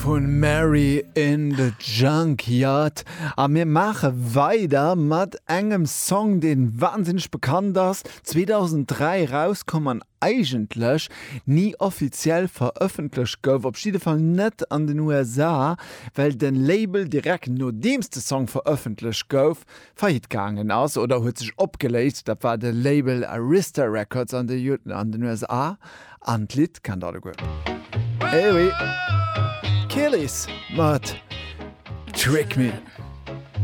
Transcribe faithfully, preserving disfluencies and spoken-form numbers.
Vun Mary in the Junkyard. A mir maache weider mat engem Song, dee wahnsinneg bekannt ass, zweedausenddräi rauskomm an eigentlech ni offiziell verëffentlecht gouf, op jidde Fall net an den U S A, well de Label direkt nodeems de Song verëffentlecht gouf, faillite gaangen ass oder huet sech opgeléist. Dat war de Label Arista Records an de an den U S A an d'Lidd kennt alleguer. Eh oui. Kelis mat Trick Me.